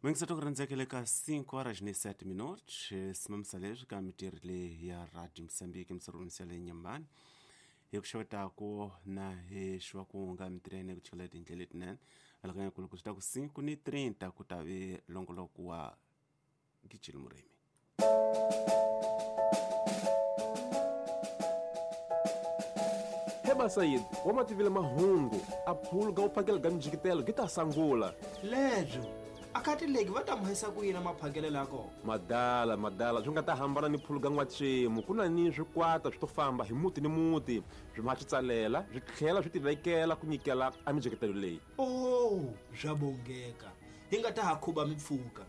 Mingisatu ku rhandzekele ka 5 horas ni 7 minutos simamisa leswi ka mitirhi leyi ya Radio Mozambique misirumisela le nyambani hi ku xewetaku na hi xiwakunga mitirheni ku chela tindlela letinene alakanya ku loko swi ta ku 5 ni 30 ku ta ve longoloko wa Gijili Murimi. He Basayid, wa ma tivile mahungu a phuluka u phakela ga mijikitelo gi ta sangula. Lebyo akhatileki va ta muhisa ku yini maphakelelo ya kona? Madala madala swi nga ta hambana ni phuluka n'watswemu ku na ni swikwata swi to famba hi muti ni muti swi ma swi tsalela swi tlhela swi tivekela ku nyikela a mijikitelo leyi. Oh, swa bongeka hi nga ta ha khuba mipfuka.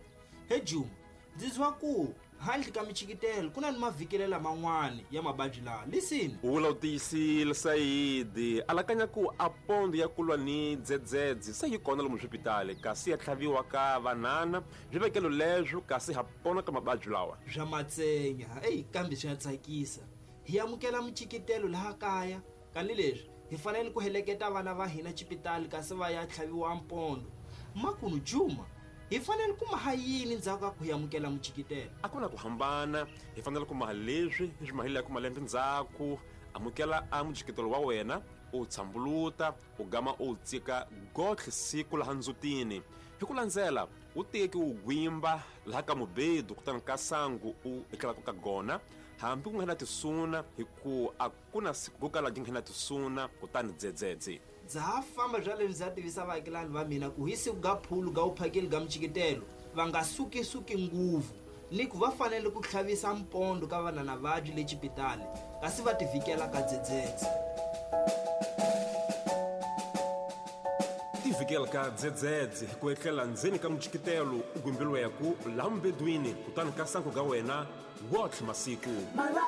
He Juma, ndzi zwa ku handle ka michikitelo ku na ni mavhikele laman'wani ya mababyi lawa. Listen. U vula u tiyisile Sayidi, alakanya ku a pondo ya kulwa ni dzedzedze se yi kona lomu swipitali kasi ya tlhaviwa ka vanhana swivekelo leswo kasi ha pona ka mababyi lawa. Swa matsenya, eyi kambe swa tsakisa. Hi amukela michikitelo laha kaya kani leswi hi fanele ku heleketa vana va hina chipitali kasi va ya tlhaviwa mpondo. Makunu Juma, hi fanele ku maha yini ndzhaku ka ku hi amukela muchikitelo? A ku na ku hambana, hi fanele ku maha leswi hi swi mahileke malembe ndzhaku. Amukela a mujikitelo wa wena, u tshambuluta, u gama u tsika gotlhe siku laha ndzutini. Hi ku landzela, wu teki u gwimba laha ka mubedu kutani ka sangu u etlelaka ka gona, hambi ku nga na tisuna, hi ku a ku na siku go kala gi nga na tisuna kutani dzedzedze. Ndza ha famba bya leswi ndza tivisa vaakelani va mina ku hi siku ga phulu ga wuphakeli ga michikitelo va nga sukisuki nguvu ni ku va fanele ku tlhavisa mpondo ka vanana vabyi le chipitali kasi va tivhikela ka dzedzedze. Tivhikela ka dzedzedze hi ku etlela ndzeni ka muchikitelo u gwimbiliweku laha mubedwini kutani ka sangu ga wena wotlhe masiku.